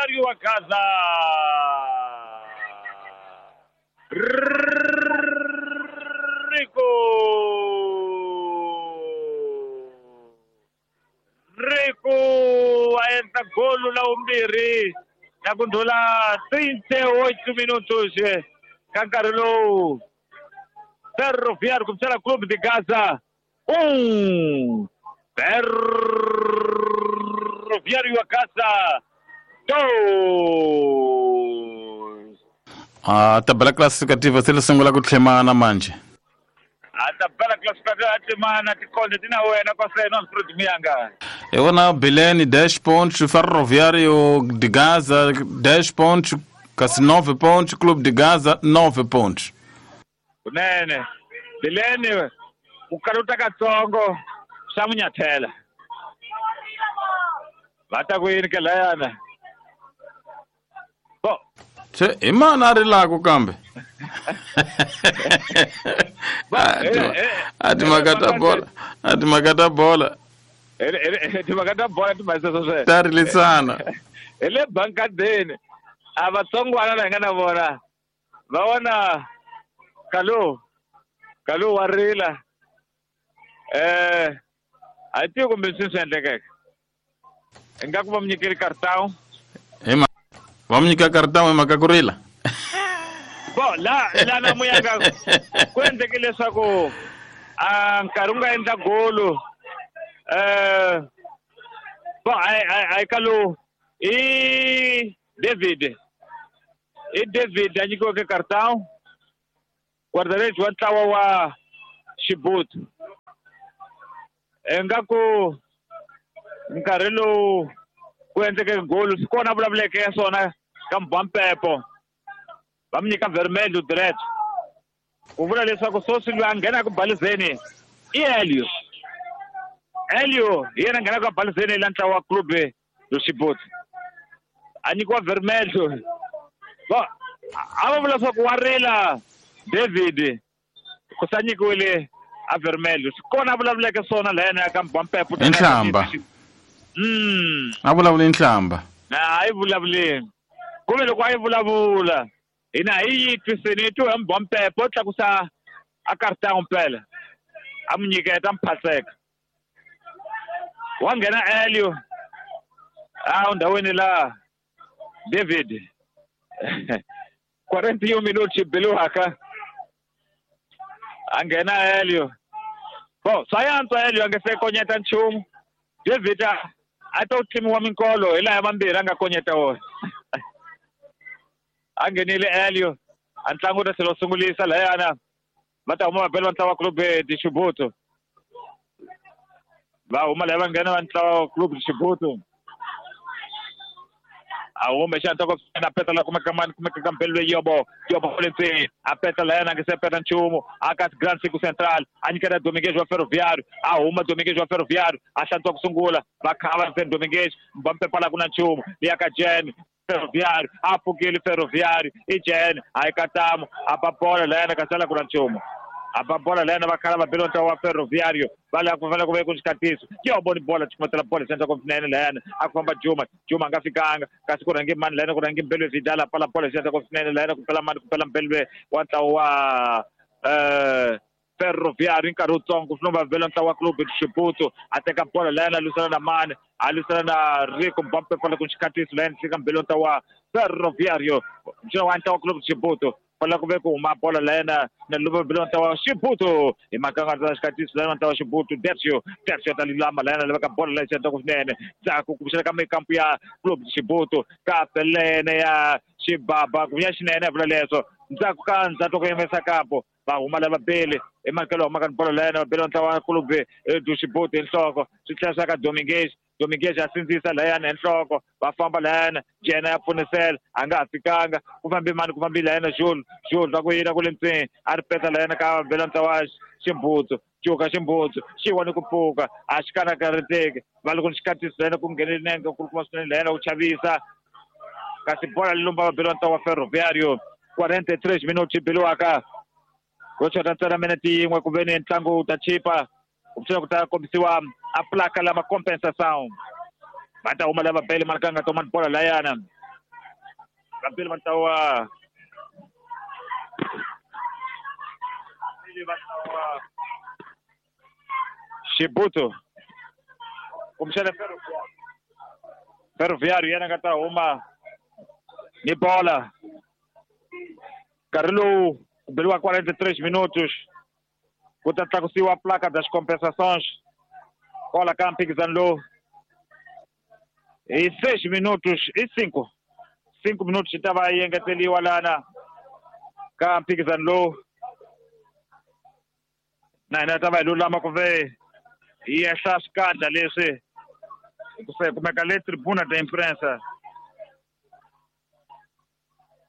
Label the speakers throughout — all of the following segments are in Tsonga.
Speaker 1: Ferroviário wa Gaza. Rico. Rico a endla golo la vumbirhi na ku ndlhula 38 minutos ka nkarhi lowu. Ferroviário kumbexana Clube de Gaza 1, Ferroviário wa Gaza 2.
Speaker 2: A tabela classificativa se li sungula ku tlhemana manje.
Speaker 1: A tabela classificativa a tlhemana tikhonde ti na wena kwaseno Alfred Muyanga.
Speaker 2: Hi vona Bilene 10 pontos, Ferroviário de Gaza 10 pontos, kasi 9 pontos, Clube de Gaza 9 pontos.
Speaker 1: Kunene Bilene ku kaluta katsongo swa munyathela. Va ta ku yini ke layana? Bo.
Speaker 2: Se hi mani a rilaku kambe? A timhaka ta bola, a timhaka ta bola.
Speaker 1: Timhaka ta bola timhaka sweswo.
Speaker 2: Ta rilisana.
Speaker 1: Hi le bankadeni. A vatsongwana la hi nga na vona. Va vona Kalu. Kalu wa rila. A hi tivi kumbe swi swi endlekeke. Ingaku va mu nyikile cartão.
Speaker 2: Va mu nyika cartão hi mhaka ku rila?
Speaker 1: Bo, la na Muyanga ku endleke leswaku a nkarhi wu nga endla golo. Bo, a Kalu i David. I David a nyikiweke cartão. Guarda-redes wa ntlawa wa Xibutu. Ingaku nkarhi lowu ku endleke golo swi kona vulavuleke ya swona ka Mbampepo. Va mu nyika vermelho direct. Ku vula leswaku sweswi loyi a nghenaka balizeni i Elio. Elio hi yena a nghenaka balizeni la ntlawa wa Clube do Xibutu. A nyikiwa vermelho. Va a va vula leswaku wa rila David ku sa nyikiwile a vermelho. Swi kona a vulavuleke swona lahayana ka Mbampepo.
Speaker 2: Hi nhlamba. A vulavuli nhlamba.
Speaker 1: A yi vulavuleni. Kumbe loko a yi vulavula hina hi yi twisini hi twi hi Mbampepo o tlakusa a cartão mpela. A mu nyiketa mphaseka. Wa nghena Elio. A ndhawini la David. 41 minutos biliwaka. A nghena Elio. Bo, swa yantswa Elio a nge se konyeta nchumu. David a to tlimiwa minkolo hi laha mambirhi a nga konyeta wona. A nghenile Elio. A ntlangu ta tlhela wu sungulisa lahayana. Va ta huma va bela va ntlawa wa Clube de Xibutu. Va huma laha va nghena va ntlawa wa Clube de Xibutu. A huma xana ta ku na peta la kumeka mani kumeka ka mpelo leyi yobo yobo le ndzeni a peta la yena a nge se peta nchumu a ka Grand Circo Central a nyikela Dominguez wa Ferroviário a huma Dominguez wa Ferroviário a hlantswa ku sungula va khava ndzeni Dominguez va mpepa la ku na nchumu liya ka Jen Ferroviário a pfukile Ferroviário i Jen a yi ka tamu a ba bola la yena ka sala ku na nchumu a ba bola la yena va khala va bela ntlawa wa Ferroviário va lava ku fanele ku ve ku xikatiso yo voni bola ximatela bola xendla ku swinene layana a ku famba Juma Juma a nga fikanga kasi ku rhange mani layana ku rhange Mbelwe Vidal a pfala bola xendla ku swinene layana ku pela mani ku pela Mbelwe wa ntlawa wa Ferroviário nkarhi wutsongo swi va bela ntlawa wa Clube de Xibutu a teka bola layana a lwisana na mani a lwisana na Rico Mbampe pfala ku xikatiso layana fika Mbelwe ntlawa wa Ferroviário wa ntlawa wa Clube de Xibutu fala ku ve ku huma bola layena na luva bela ntlawa wa Xibutu hi makanga ta xikatiso layena ntlawa wa Xibutu Dercio Dercio ta lulama layena laveka bola leyi xendla ku swinene ndzhaku ku pfuxela ka mikampu ya Clube de Xibutu ka pelene ya Xibaba ku ya xinene vula leswo ndzhaku ka ndzhaku ku yimisa kampo va huma lava bele hi makelo huma ka bola layena va bela ntlawa wa Clube de Xibutu hi nhloko swi tlhela swa ka Dominguez Dominguez a sindzisa layana hi nhloko va famba layana Jena ya pfunisela a nga ha fikanga ku fambi mani ku fambi layana Jules Jules va ku yina ku le ntseni a ri peta layana ka bela ntlawa Ximbutsu cuka Ximbutsu xi wani ku pfuka a xi kanakariteki va loko ni xikatiso layana ku nghenele nenge ku kuma swinene layana ku chavisa kasi bola li lumba va bela ntlawa wa Ferroviário 43 minutos biliwaka ro chota ntsena minete yin'we ku ve ni ntlangu wu ta chipa ku pfuxela ku ta kombisiwa a placa lama compensação va ta huma lava bele marikanga tomani bola layana. Vapeli va ntlawa Chibuto kumbexana Ferroviário yena nga ta huma ni bola nkarhi lowu ku beriwa 43 minutos ku ta tlakusiwa placa das compensações kwala ka mphikizano lowu hi 6 minutos i 5 minutos yi ta va yi engeteriwa lana ka mphikizano lowu na hina ta va hi lulama ku ve hi ehla swikandla leswi se kumeka le tribuna da imprensa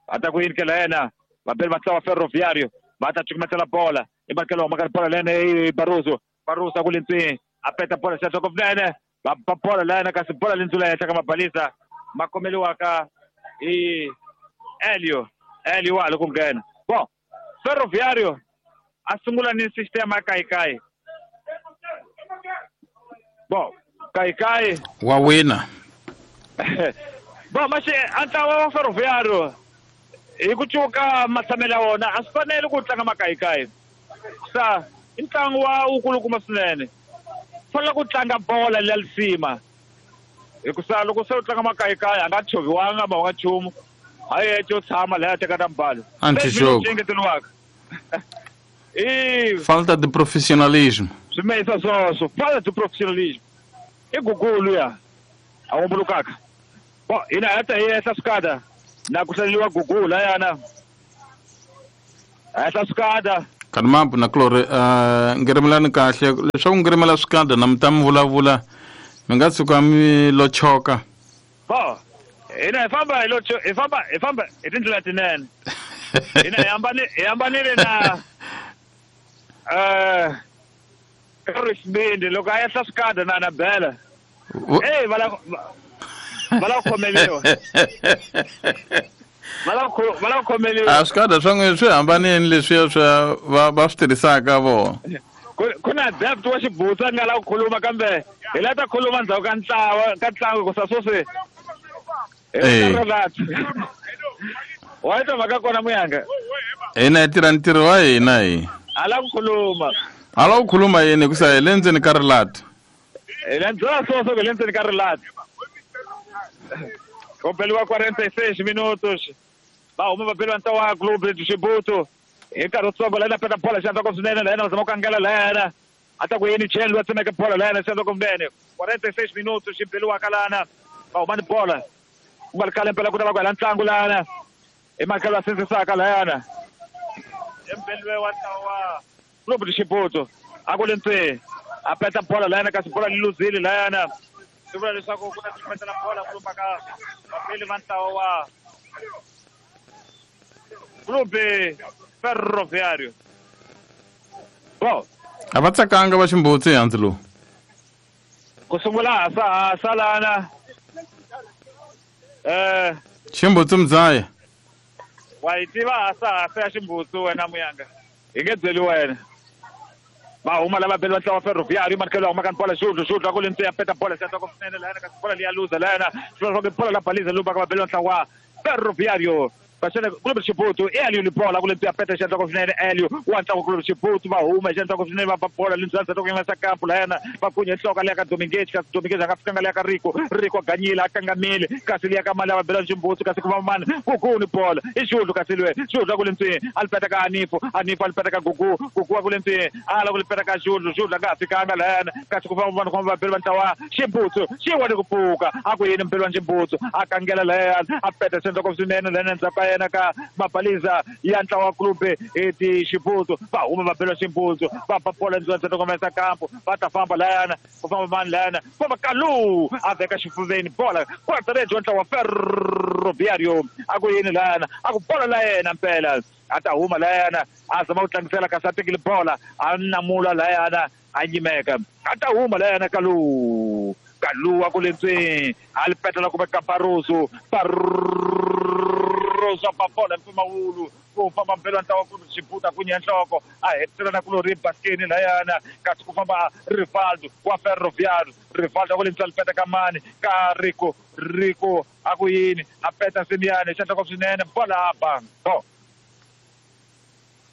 Speaker 1: a ta ku yinikela yena vapeli va ntlawa Ferroviário va ta cukumetela bola i makelo humaka bola lene i Barroso Barroso a ku lentswini a peta bola xatswa kunene va ba bola lena kasi bola lentswini henhla ka mabalisa ma khomeliwaka hi Elio Elio wa ha ri ku nghena bon Ferroviário a sungula ni sistema ya kayikayi bon kayikayi
Speaker 2: wa wina
Speaker 1: bon maxe a ntlawa wa Ferroviário hi ku cuka matshamelo ya wona a swi fanele ku tlanga makayikayi sa i ntlangu wa wukulukumba swinene fanele ku tlanga bola leya lisima hikusa loko se u tlanga makayikayi a nga tshoviwanga ma nga nchumu hayi yece u tshama laya teka na mbalo
Speaker 2: Antijogo.
Speaker 1: Engeteriwaka i
Speaker 2: Falta de profissionalismo.
Speaker 1: Swi meyisa swoswo falta de profissionalismo i gugulu ya a wombulukaka bon hina hi ta hi ehla swikada na ku hlaleliwa gugu layana ehla swikada
Speaker 2: Kanimambu na Clore ngirimelani kahle leswaku ngirimela swikada na mi ta mi vulavula mi nga tshuka mi lo choka
Speaker 1: bon hina hi famba hi lo hi famba hi famba hi tindlela tinene hina hi hambanile na Xibindi loko a ehla swikada na na bela ey va la ku khomeliwa va la ku khomeliwa
Speaker 2: a swikada swa n'wina swi hambanile leswiya swa va swi tirhisaka vona
Speaker 1: ku na depth wa xibutsa nga la ku khuluma kambe hi la ta khuluma ndzhaku ka ntlawa ka ntlangu hikusa sweswi wa yi twa mhaka kona muyanga
Speaker 2: hina hi tirha ntirho wa hina hi
Speaker 1: a la ku khuluma
Speaker 2: a la ku khuluma yini hikusa hi le ndzeni ka rilati
Speaker 1: hi le ndzela swoswo hi le ndzeni ka rilati ku beliwa 46 minutos va huma va beliwa ntlawa wa Clube de Chibuto hi nkarhi wutsongo layena peta bola xandla ko swinene layena va zama ku kangela layena a ta ku yini cheli wa tsemeke bola layena xandla ko swinene 46 minutos xi beliwaka lana va huma ni bola ku nga ri khale mpela ku ta va ku hela ntlangu lana i makelo a sindzisaka layana embeliwe wa ntlawa wa Clube de Chibuto a ku le ntseni a peta bola layena kasi bola li luzile layana swi vula leswaku ku ta cukumetela bola kulumba ka vapeli va ntlawa wa Clube Ferroviário bon
Speaker 2: a va tsakanga va ximbutsi hansi lowu
Speaker 1: ku sungula hasa lana
Speaker 2: ximbutsi mdzaya
Speaker 1: wa yi tiva hasa ya ximbutsi wena muyanga hi nge byeli wena va huma lava beli va ntlawa Ferroviário manikelo huma ka bola xudlu xudlu a ku le ntseni ya peta bola xandla ko swinene layena kasi bola liya luza layena swi vula bola la baliza lumba ka vabeli va ntlawa Ferroviário Pasene Clube Chibuto Elio ni bola ku le ntseni ya peta xandla ko swinene Elio wa ntlawa Clube Chibuto va huma xandla ko swinene va ba bola lindzanza to yimisa kampu layena va kunye nhloko leya ka Dominguez kasi Dominguez a nga fikanga leya ka Rico Rico ganyile a kangamile kasi leya ka mali ya vabela Chibuto kasi ku va mani Gugu ni bola i xudlu kasi lwe xudlu a ku le ntseni a li peta ka Anifo Anifo a li peta ka Gugu Gugu a ku le ntseni a la ku li peta ka xudlu xudlu a nga ha fikanga layana kasi ku va mani ku vabeli va ntlawa Chibuto xi wani ku pfuka a ku yini mpeli wa Chibuto a kangela layana a peta xandla ko swinene layena ndzhaku ka yena ka mabaliza ya ntlawa Clube de Chibuto va huma va bela Chibuto va ba bola ndzhaku ka komesa kampo va ta famba layana ku famba mani layana famba Kalu a veka xifuveni bola quarta-rejo wa ntlawa Ferroviário a ku yini layana a ku bola la yena mpela a ta huma layana a zama ku tlangisela kasi a tekile bola a namula layana a nyimeka a ta huma layana Kalu Kalu a ku le ntseni a li petela kumbe ka Barroso Barroso ba bola mpfumawulo ku famba mpelo ntlawa ku xibuta ku nyanhloko a hetisela na kulori baskeni layana kasi ku famba Rivaldo wa Ferroviário. Rivaldo ku le peta ka mani ka Rico. Rico a ku yini a peta Simiane xanhloko swinene bola ba go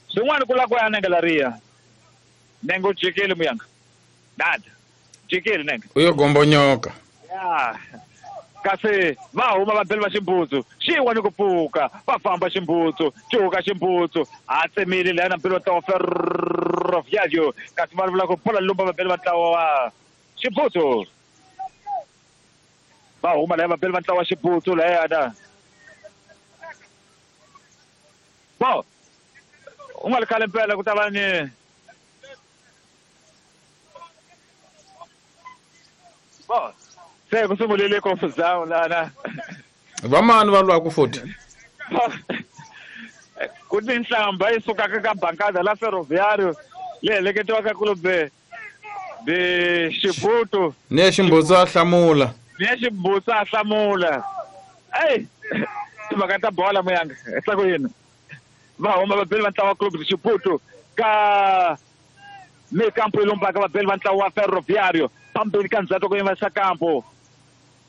Speaker 1: swin'wana ku la ku ya nenge lariya nenge u jikile muyanga dada jikile nenge
Speaker 2: uyo gombonyoka
Speaker 1: ya kasi va huma va beli va ximbutsu xiwa ni ku pfuka va famba ximbutsu xihuka ximbutsu a tsemile lana mpilo wa Ferroviário kasi va vula ku bola lumba va beli va ntlawa wa ximbutsu va huma laya va beli va ntlawa wa ximbutsu layana bo u nga ri khale mpela ku ta va ni bo se ku sungulile confusão lana
Speaker 2: vamani va lwaku futhi
Speaker 1: ku ni nhlamba yi sukaka ka bankada la Ferroviário leyi heleketiwaka kulube de Xibutu
Speaker 2: ni ximbutsu a hlamula
Speaker 1: ni ximbutsu a hlamula ey timhaka ta bola muyanga hlako yini va huma va beli va ntlawa club de Xibutu ka meio campo yi lombaka va beli va ntlawa wa Ferroviário phambili ka ndzhaku ku yima xa kampo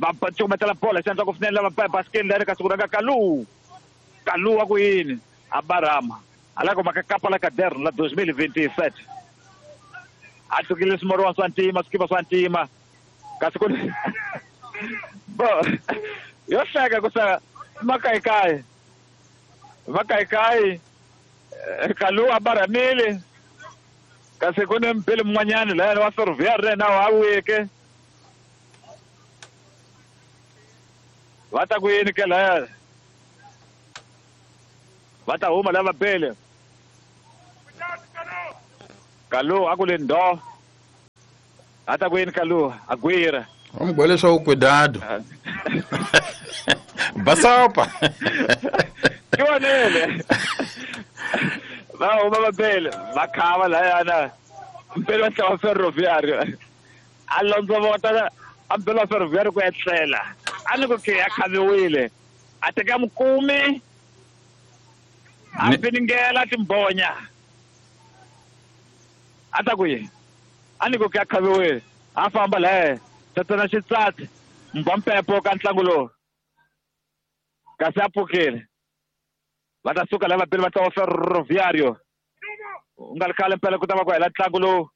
Speaker 1: va cukumetela bola xandla ku finela va baskeni leri kasi ku rhanga Kalu. Kalu wa ku yini a barama a la ku maka kapa la caderno la 2027 a tlukile swimoriwa swa ntima swikipa swa ntima kasi ku bo yo hleka ku sa makayikayi makayikayi Kalu a baramile kasi ku ni mpele mun'wanyana layani wa Ferroviário na wa weke va ta ku yini ke laya va ta huma lava bele Kalu a ku le ndo a ta ku yini Kalu a gwira
Speaker 2: va mi gwele swa ku cuidado basopa
Speaker 1: ki vonele va huma va bele va khava layana mpele wa ntlawa Ferroviário a londzovota a mpele wa Ferroviário ku etlela a ni ku ke a khaviwile a teka mukumi a finingela timbonya a ta ku yini a ni ku ke a khaviwile a famba laye tatana xitsatsi mbwa mpepo ka ntlangu lowu kasi a pfukile va ta suka lava beli va ntlawa Ferroviário u nga ri khale mpela ku ta va ku hela ntlangu lowu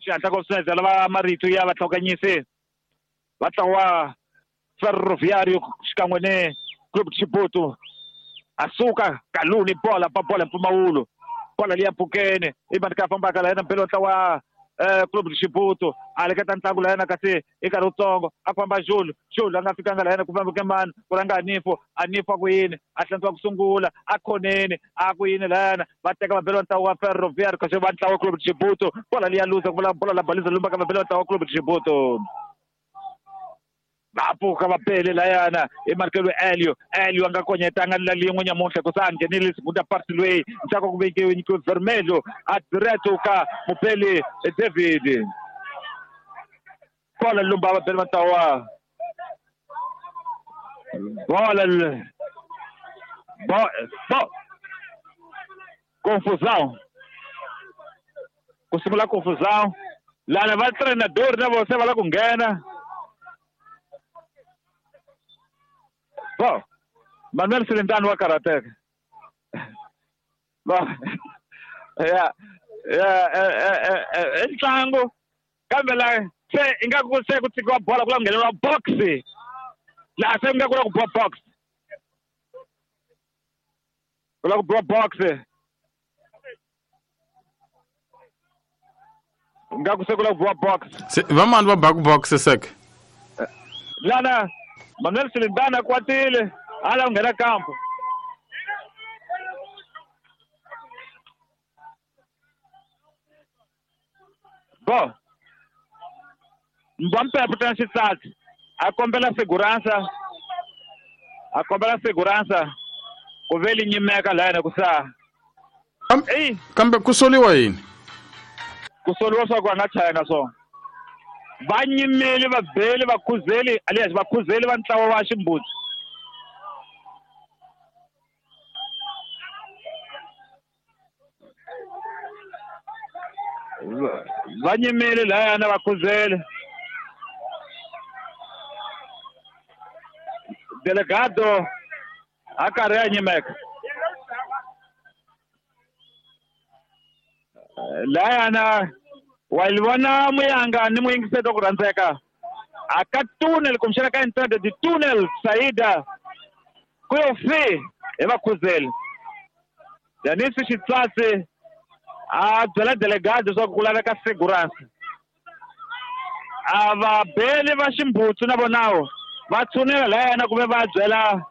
Speaker 1: xihatla ku swinene lava marito ya vatlhokanyisi va ntlawa Ferroviário xikan'we ni Club Xibutu a suka Kalu ni bola ba bola mpfumawulo bola liya pfukeni i mani ka fambaka la yena mpela wa ntlawa Club Xibutu a leketa ntlangu la yena kasi i nkarhi wutsongo a famba Julu Julu a nga fikanga la yena ku famba ke mani ku rhanga Anifo Anifo a ku yini a hlantswa ku sungula a khoneni a ku yini la yena va teka va bela va ntlawa wa Ferroviário kasi va ntlawa Club Xibutu bola liya luza ku vula bola la baliza lumbaka va bela va ntlawa Club Xibutu va pfuka va bele layana i markelo Elio Elio a nga konyetanga la lin'we nyamuntlha ku sa a nghenile segunda parte loyi ndzhaku ku vekiwe nyikiwe Vermelho a direto ka mupeli David bola lumba va bele va ntlawa bola bo confusão ku sungula confusão lana va treinador na vona se va la ku nghena. Bom, Manuel Silindano wa karhateka. Bom, i ntlangu kambe la se ingaku se ku tshikiwa bola ku la ku ngheneriwa box laha se ingaku la ku biwa box ku la ku biwa box ingaku se ku la ku biwa box
Speaker 2: vamani va baku box sek
Speaker 1: lana Manuel Silindana a kwatile a la ku nghena kampo bo mbwa mpepo ta xitsatsi a kombela segurança ku ve li nyimeka layana ku sa
Speaker 2: kambe ku soliwa yini
Speaker 1: ku soliwa swa ku a nga chayanga swona va nyimeli va beli va khuzeli alias va khuzeli va ntlawa wa ximbutsu Va nyimile layana va khuzele. Delegado a karhi a nyimeka. Layana wa yi vona Muyanga ni muyingiseti wa ku rhandzeka. A ka tunnel kumbexana ka entrada de tunnel saída ku yo fi hi vakhuzeli. Danisi Xitsatsi a byela delegado leswaku ku laveka segurança. A va beli va Ximbutsu na vonawo va tshunela layana kumbe va byela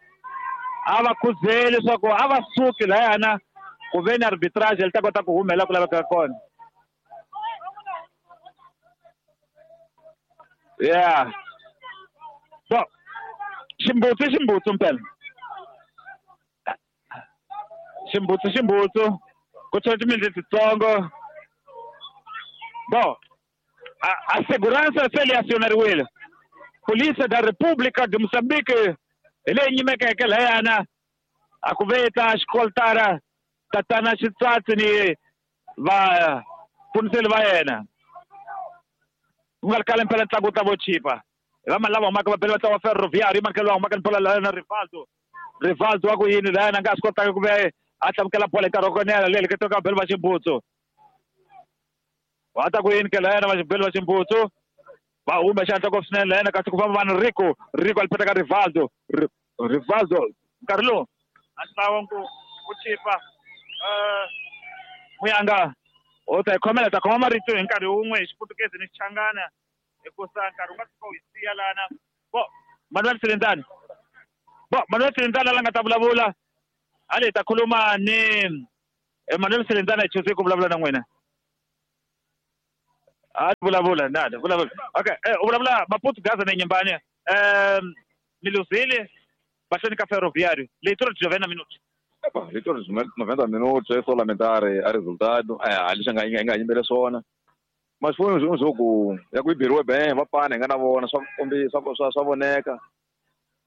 Speaker 1: a va khuzeli leswaku a va suki layana ku ve ni arbitrage li ta kota ku humela ku laveka kona. Yeah. So, Ximbutsu Ximbutsu mpela. Ximbutsu Ximbutsu ku tshova timinete titsongo. Bom, a segurança se li acionariwile. Polícia da República de Moçambique hi leyi nyimekeke layana a ku ve ta xikoltara tatana Xitsatsi ni va pfuniseli va yena. Ku nga ri khale mpela ntlangu wu ta vo chipa. Hi va mani lava humaka va bele va ntlangu wa Ferroviário, i mani lava humaka ni bola layana Rivaldo. Rivaldo wa ku yini layana a nga swi kotanga ku ve a hlamukela bola hi nkarhi wa konela leyi leketiwaka va bele va Ximbutsu. Va ta ku yini ke layana va bele va Ximbutsu. Va huma xihatla ngopfu swinene layana kasi ku famba vanhu Rico. Rico a li peta ka Rivaldo. Rivaldo nkarhi lowu a ntlawa ku chipa. Muyanga u ta hi khomela ta khoma marito hi nkarhi wun'we hi Xiputukezi ni Xichangana hikusa nkarhi wu nga fika wu hi siya lana. Bo Manuel Silenzani. Bo Manuel Silenzani la nga ta vulavula. A hi ta khuluma ni Manuel Silenzani hi choose ku vulavula na n'wina. A vulavula nada, vulavula. Okay, u vulavula Maputo Gaza na Inhambane. Mi luzile mahlweni ka Ferroviário. Leitura de 90 minutos.
Speaker 3: Epa, leitura de 90 minutos, é só lamentar a resultado. É, ali já nga yimbele swona. Mas foi um jogo ya ku biriwe bem, va pana nga na vona swa kombisa swa voneka.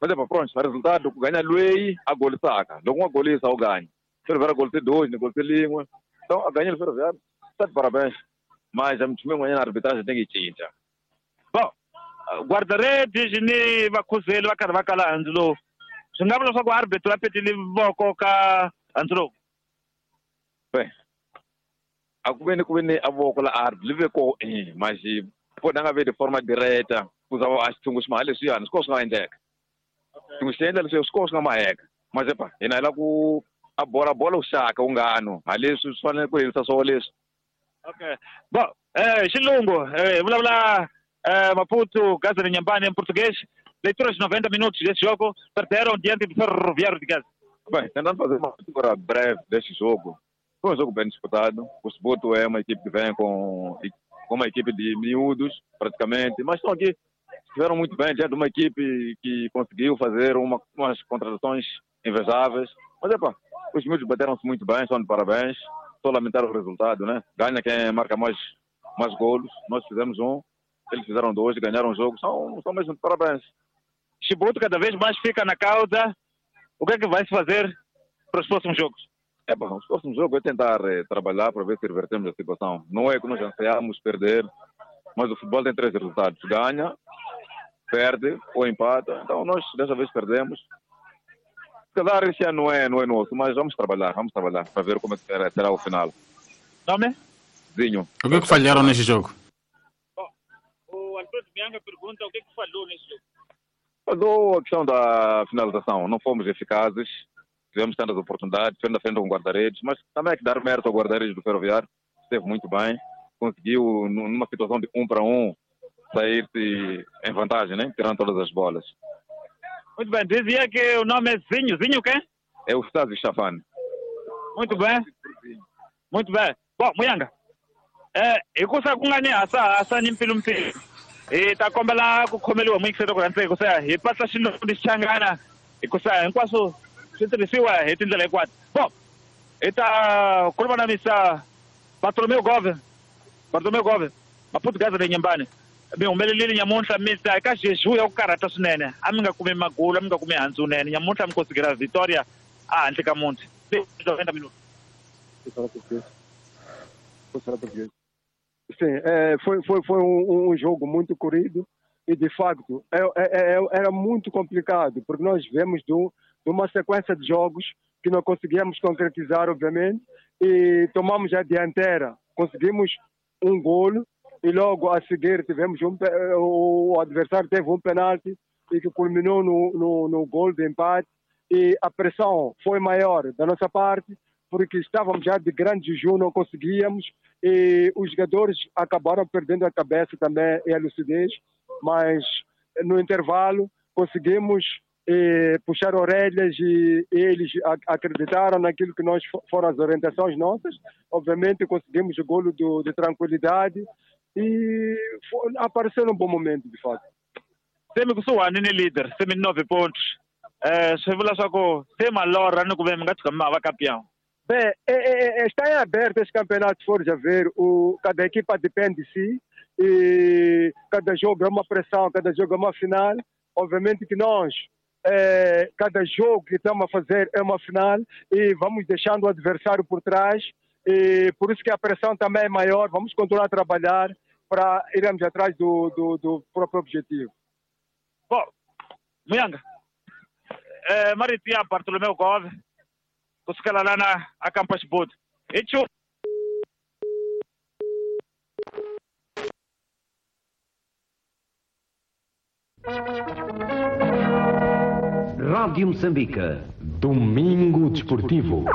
Speaker 3: Mas epa, pronto, resultado ku ganha lweyi a golisaka. Loko nga golisa u ganha. Ferroviário golise 2, ni golise lin'we. Então a ganha o Ferroviário. Tá de parabéns. Mas a mthume n'wanyana arbitrage tem que cinca.
Speaker 1: Bom, guarda-redes ni vakhuzeli va karhi va kala handzu lowu. Swi nga vula leswaku arbitro a petile voko ka handzu lowu?
Speaker 3: Bem, a ku ve ni a voko la arbitro li ve ko mas pona nga ve de forma direta ku za a xithungu xi maha leswiyani swi ko swi nga endleka. Xithungu xi endla leswi swi ko swi nga maheka. Mas epa, hina hi la ku a bola bola u xaka u ngano ha leswi swi fanele ku herisa swo leswi.
Speaker 1: Okay. Bom, Xilungu, vulavula Maputo, Gaza de Inhambane em português. Leitura de 90 minutos desse jogo, perderam diante do Ferroviário de Gaza.
Speaker 3: Bem, tentando fazer uma leitura breve deste jogo. Foi um jogo bem disputado. O Chibuto é uma equipe que vem com uma equipe de miúdos, praticamente. Mas estão aqui, estiveram muito bem diante de uma equipe que conseguiu fazer umas contratações invejáveis. Mas, epa, os miúdos bateram-se muito bem, estão de parabéns. Só lamentar o resultado, né? Ganha quem marca mais golos. Nós fizemos um, eles fizeram 2, ganharam o jogo. São mesmo de parabéns.
Speaker 1: Chibuto cada vez mais fica na causa. O que é que vai se fazer para os próximos jogos?
Speaker 3: Bom, os próximos jogos é tentar trabalhar para ver se revertemos a situação. Não é que nós ansiamos perder, mas o futebol tem 3 resultados. Ganha, perde ou empata. Então nós dessa vez perdemos. Se calhar esse ano não é nosso, mas vamos trabalhar para ver como é que será o final.
Speaker 1: Nome?
Speaker 3: Zinho.
Speaker 2: O que é que falharam nesse jogo?
Speaker 1: Bom, o Alfredo Bianca pergunta o que é que falhou nesse jogo.
Speaker 3: Falhou a questão da finalização. Não fomos eficazes, tivemos tantas oportunidades, frente a frente com o guarda-redes, mas também é que dar mérito ao guarda-redes do Ferroviário, esteve muito bem, conseguiu numa situação de 1 para 1 sair-se em vantagem, né? Tirando todas as bolas.
Speaker 1: Muito bem, dizia que o nome é Zinho. Zinho quem?
Speaker 3: É o Stasi Chafane.
Speaker 1: Muito bem. Muito bem. Bom, Muyanga, hikusa ku nga ni hasa ni mpfilumpfilu hi ta kombela ku khomeliwa muyingiseri ku rhandza hikusa hi patla xilungu ni Xichangana hikusa hinkwaswo swi tirhisiwa hi tindlela hinkwato. Bom, hi ta khuluma na Mr. Bartolomeu Gove. Bartolomeu Gove, Maputo Gaza de Inhambane. Mi humelelile nyamuntlha mi ta eka jejum ya ku karhata swinene. A mi nga kumi magulu, a mi nga kumi handzu nene. Nyamuntlha mi konsigera Vitória a handle ka muti. 90 minutos.
Speaker 4: Vou falar português. Vou falar português. Sim, foi um jogo muito corrido e, de facto, era muito complicado, porque nós vemos de uma sequência de jogos que não conseguíamos concretizar, obviamente, e tomamos a dianteira. Conseguimos um golo e logo a seguir tivemos o adversário teve um penalti e que culminou no golo de empate, e a pressão foi maior da nossa parte, porque estávamos já de grande jejum, não conseguíamos, e os jogadores acabaram perdendo a cabeça também e a lucidez, mas no intervalo conseguimos puxar orelhas e eles acreditaram naquilo que nós foram as orientações nossas. Obviamente conseguimos o golo de tranquilidade e apareceu num bom momento, de fato.
Speaker 1: Se mi kusuhani ni leader, se mi 9 pontos. Swi vula swa ku se malorha ni ku ve mi nga tshuka mi va campeão.
Speaker 4: Bem, está em aberto esse campeonato, se for já ver, cada equipa depende de si e cada jogo é uma pressão, cada jogo é uma final. Obviamente que nós, cada jogo que estamos a fazer é uma final e vamos deixando o adversário por trás, e por isso que a pressão também é maior. Vamos continuar a trabalhar para irmos atrás do próprio objetivo.
Speaker 1: Bom, Muyanga, marito ya Bartolomeu Gove, kusukela lana a Campos Boot.
Speaker 5: Rádio Moçambique.
Speaker 6: Domingo Desportivo.